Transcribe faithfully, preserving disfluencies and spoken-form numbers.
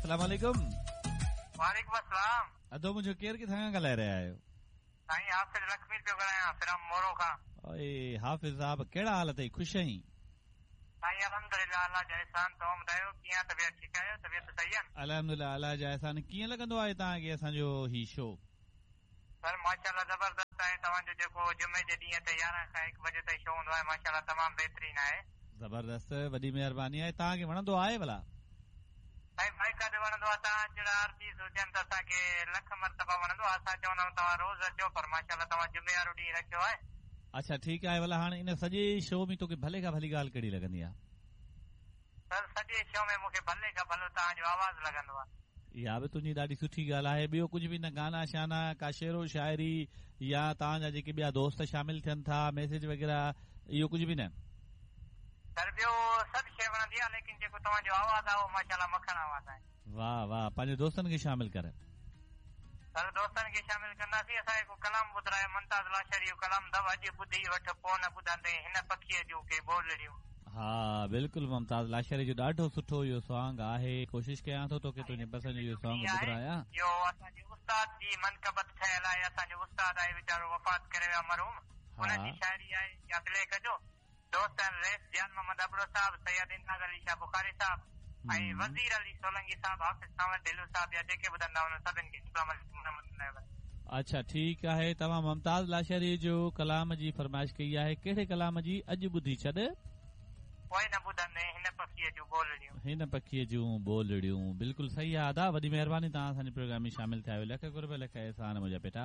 अस्सलाम वालेकुम। वालेकुम अस्सलाम। अदो मुंहिंजो केरु किथां खां ॻाल्हाए रहिया आहियो? साईं हाफ़िज़ लक्ष्मी पियो ॻाल्हायां फ्रॉम मोरो खां। ओए हाफ़िज़ साहब, कहिड़ा हाल अथई? ख़ुशि आहीं? साईं अल्हम्दुलिल्लाह, अल्लाह जा एहसान। तव्हां ॿुधायो कीअं, तबियत ठीकु आहियो? तबियत सही आहे? अल्हम्दुलिल्लाह, अल्लाह जा एहसान। कीअं लॻंदो आहे तव्हांखे असांजो ही शो? सर माशाअल्लाह ज़बरदस्त आहे। तव्हांजो जेको जुमे जे ॾींहं ते यारहं खां हिकु बजे ताईं शो हूंदो आहे, माशाअल्लाह तमामु बहितरीन आहे। ज़बरदस्त, वॾी महिरबानी आहे। तव्हांखे वणंदो आहे भला? साईं बाइकादे वणंदो आहे। तव्हां जहिड़ा आर्टिस्ट हुजनि त असांखे लख मरतबा वणंदो आहे। असां चवंदा आहियूं तव्हां रोज़ अचो, पर माशाअल्लाह तव्हां जुमे वारो ॾींहुं रखियो आहे। अच्छा ठीकु आहे। भला हाणे इन सॼे शो में तोखे भले खां भली ॻाल्हि कहिड़ी लॻंदी आहे? सर सॼे शो में मूंखे भले खां भलो तव्हांजो आवाज़ लॻंदो आहे। इहा बि तुंहिंजी ॾाढी सुठी ॻाल्हि आहे। ॿियो कुझु बि न, गाना शाना, का शेरो शाइरी या तव्हांजा जेके ॿिया दोस्त शामिल थियनि था, मैसेज वग़ैरह, इहो कुझु बि न? सर ॿियो सभु शइ वणंदी आहे, लेकिन जेको तव्हांजो आवाज़ आहे उहो माशाअल्लाह मखण आवाज़ आहे। वाह वाह, पंहिंजे दोस्तनि खे शामिल कर। सर दोस्तनि खे शामिल कंदासीं। असां हिकु कलाम ॿुधायो, मुमताज़ लाशारी जो कलाम अथव, अॼु ॿुधी वठि पोइ न ॿुधंदे हिन पखीअ जूं के ॿोलड़ियूं। हा बिल्कुलु, मुमताज़ लाशारी जो ॾाढो सुठो इहो सॉन्ग आहे। कोशिशि कयां थो तोखे तुंहिंजे पसंदि जो सॉन्ग ॿुधायां। इहो असांजे उस्ताद जी मनकबत ठहियल आहे। असांजो उस्ताद आहे वीचारो, वफ़ात करे वियो मरहूम, हुनजी शाइरी आहे या प्ले कजो। दोस्त आहिनि रेस जान मोहम्मद अबड़ो साहब, सैयद इंदाज़ अली शाह बुखारी साहब ऐं वज़ीर अली सोलंगी साहब, हाफ़िज़ सावंत ढिलू साहब, या जेके ॿुधंदा हुननि सभिनि खे। अच्छा ठीकु आहे। तव्हां मुमताज़ लाशारी जो कलाम जी फरमाइश कई आहे, कहिड़े कलाम जी? अॼु ॿुधी छॾ पोइ न ॿुधंदे हिन पखीअ जूं ॿोलड़ियूं। हिन पखीअ जूं ॿोलड़ियूं, बिल्कुलु सही आहे अदा, वॾी महिरबानी तव्हां असांजे प्रोग्राम में शामिल थिया आहियो। लख क़ुर्ब, लख एहसान मुंहिंजा बेटा।